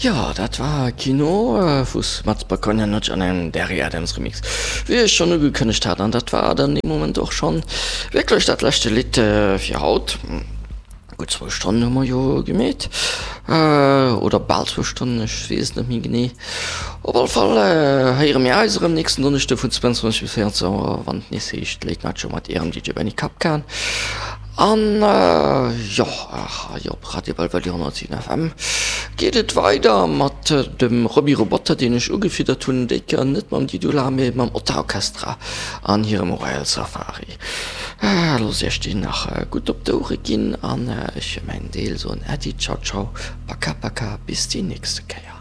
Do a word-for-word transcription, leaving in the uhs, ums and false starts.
Jo, dat war Kino vu Smuts Bakonjanoc an engem Derry Adams Remix, wéi ech schonn ugekënnegt hat. An dat war dann dee Moment och schonn wierklech dat leschte Lidd fir haut. Gutt zwou Stonnen hu mer jo gemeet, oder bal zwou Stonnen, ech weess et net méi genee. Op alle Fall héiere mir eis erëm nächsten Donneschde vun zwouanzwanzeg bis véieranzwanzeg Auer, wann et nees heescht Late Night Show mat Ärem D J Benny Kapkan. An jo, hei op Radio Belvedere honnertsiwen F M geet et weider mat dem Roby Roboter, deen ech ugefiddert hunn, déi Kéier net mam Didula, mee mam Otta Orchestra an hirem Royal Safari. Loosst iech déi nach gutt op d'Ouere ginn an ech fir mäin Deel soen Äddi, ciao ciao, paka paka, bis déi nächste Kéier.